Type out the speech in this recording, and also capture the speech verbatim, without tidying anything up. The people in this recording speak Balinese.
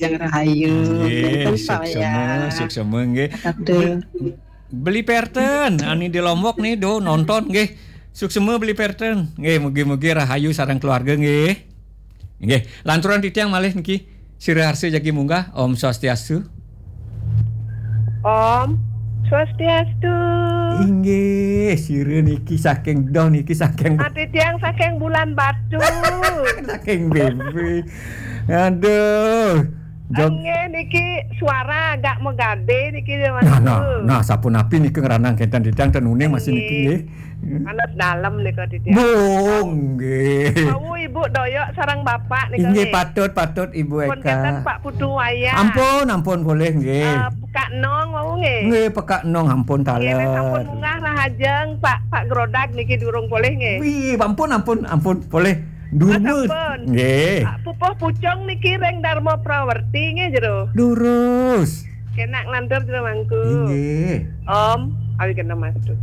Rahajeng rahayu. Nggih, suksma, suksma nggih. Beli Perten, ani di Lombok nih, do nonton nggih. Suksma Beli Perten. Nggih, mugi-mugi rahayu sareng keluarga nggih. Nggih, lanturan titiang malih niki. Sira harsa jagi munggah, Om Swastiastu. Om Swastiastu. Inggih, sira niki saking doh niki saking Ati tiang saking Bulan Batu. Saking B B. Aduh. Jog- Nggih niki suara agak megade niki Mas. Nah, nah, nah, sapunapi niki ngranang kenten titiang ten uning masih niki nggih. Panas dalam nika titiang. Bung nggih. Wau Ibu Doyok sareng Bapak nika. Inggih nggih. Patut, patut Ibu Eka. Pun kenten Pak Putu Wayah. Ampun, ampun boleh nggih. Eh, Pekak Nong wau nggih. Nggih, Pekak Nong ampun taler. Nggih, sampun munggah rahajeng Pak, Pak Grodag niki durung boleh nggih. Wih, ampun, ampun, ampun boleh. Durmus. Ampun. Nggih. Pupuh Pucung niki ring Dharma Prawerti nggih jero. Durus. Kenak lantur jero mangku. Inggih. Om, awi kena mastu.